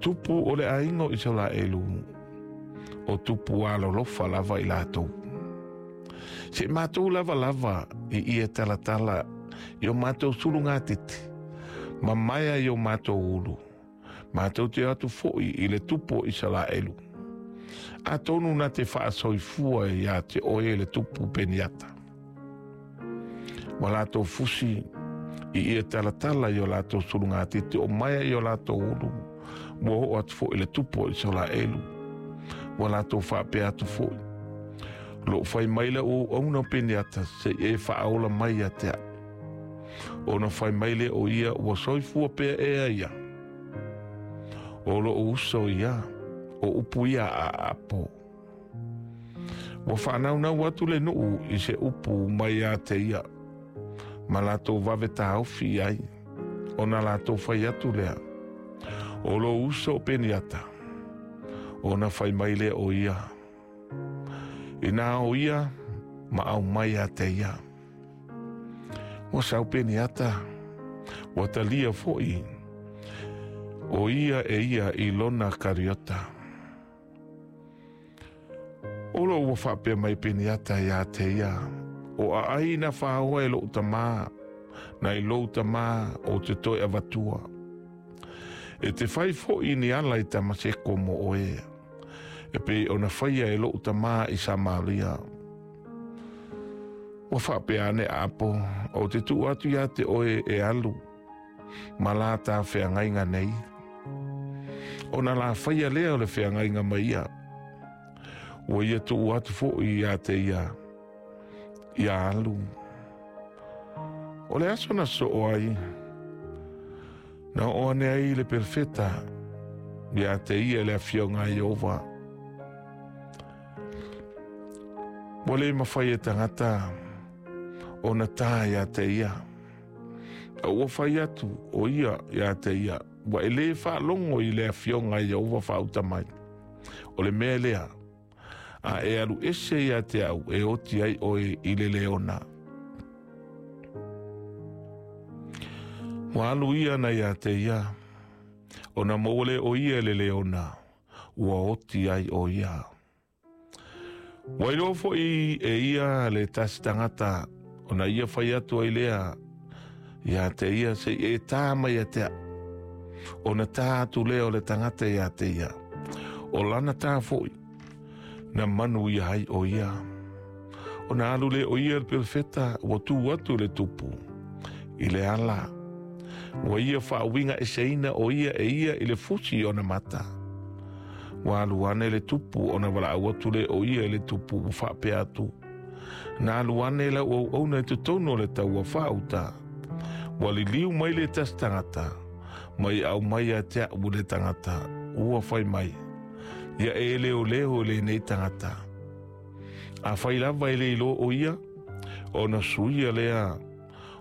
Tupu o le aiga o Isaraelu, o tupu alolofa lava i latou. Se i matou lava lava i ia talatala i o matou sulugatete, ma maea i o matou ulu, matou te o atu foi i le tupu o Isaraelu. Atonu na te faasoifua ia te oe le tupu Peniata. Ua latou fusi i ia talatala i o latou sulugatete o maea i o latou ulu, ua oo atu foi i le tupu o Isaraelu. Ua latou faapea atu foi, Lou fai mai lau auauna o Peniata, se i e faaola mai ia te au. Ona fai mai lea o ia, Ua soifua pea ea ia? O lou uso ia, o upu ia a Aapo. Ua faanaunau atu le nuu i se upu mai ia te ia, ma latou vave taofi i ai, ona latou fai atu lea, O lou uso o Peniata. Ona fai mai lea o ia, Inā o ia ma aumai ia te ia. Ua sau Peniata, ua talia foi o ia e ia i lona kariota. O lou ua faapea mai Peniata ia te ia, O aai na whaoa e lou tamā, nai lou tamā ou te toe avatua. E te fai foi ni ala i Tamaseko mo oe, e pei ona faia e lou tamā i Samaria. Ua faapea ane Apo, ou te tuu atu ia te oe e alu, ma la tā feagaiga nei. Ona la faia lea o le feagaiga ma ia. Ua ia tuu atu foi ia te ia, ia alu. O le aso na soo ai, na oo ane ai le perofeta ia te ia le afioga a Ieova. Ua le mafai e tagata ona tā ia te ia. A ua fai atu o ia ia te ia, ua e lē faalogo i le afioga a Ieova faauta mai. O le mea lea, a e alu ese ia te au e oti ai oe i le leona. Ua alu ia na ia te ia, ona maua lea o ia i le leona, ua oti ai o ia. Ua iloa foi e ia le tasi tagata, ona ia fai atu ai lea ia te ia, se i e tā mai ia te au. Ona tā atu lea o le tagata ia te ia, o lana tā foi, na manu ia ai o ia. Ona alu lea o ia le perofeta, ua tū atu le tupu i le ala. Ua ia faauiga eseina o ia e ia i le fusi i ona mata. Ua alu ane le tupu ona valaau atu lea o ia i le tupu ua faapea atu, Na alu ane lau auauna i totonu o le taua faauta. Ua liliu mai le tasi tagata, mai aumai ia te au le tagata, ua fai mai, Ia e leoleo i lenei tagata. Afai lava e le iloa o ia, ona suia lea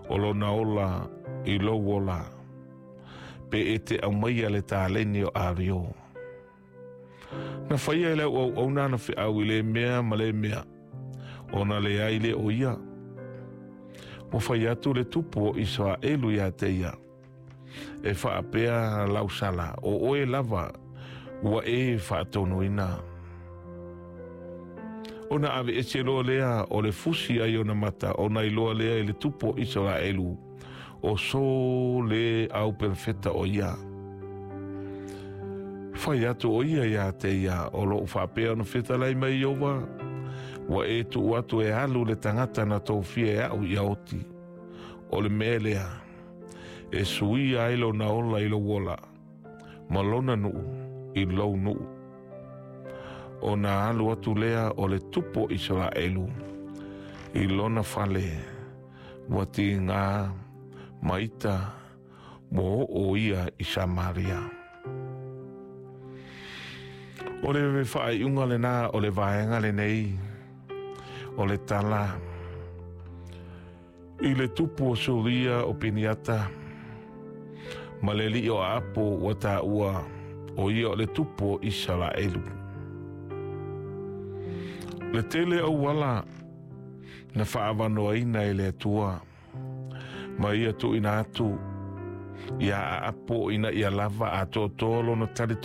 o lona ola i lou ola, pe e te aumaia le taleni o Ario. Na faia e lau auauna ana feau i le mea ma le mea, ona leai lea o ia. Ua fai atu le tupu o Isaraelu ia te ia, E faapea lau sala, o oe lava ua e faatonuina. Ona aveese loa lea o le fusi ai ona mata, ona iloa lea i le tupu o Isaraelu, o so le au perofeta o ia. Fai atu o ia ia te ia, o lou faapea ona fetalai mai Ieova, ua e tuu atu e alu le tagata na tofia e au ia oti. O le mea lea, e suia ai lona ola i lou ola, ma lona nuu i lou nuu. Ona alu atu lea o le tupu o Isaraelu i lona fale, ua tiga ma ita ua oo ia i Samaria. O le faaiuga lena o le vaega lenei o le tala i le tupu o Suria o Peniata ma le alii o Aapo ua taua o ia o le tupu o Isaraelu. Le tele auala na faaavanoaina e le Atua ma ia tuuina atu ia Aapo ina ia lava atoatoa lona talitonuga.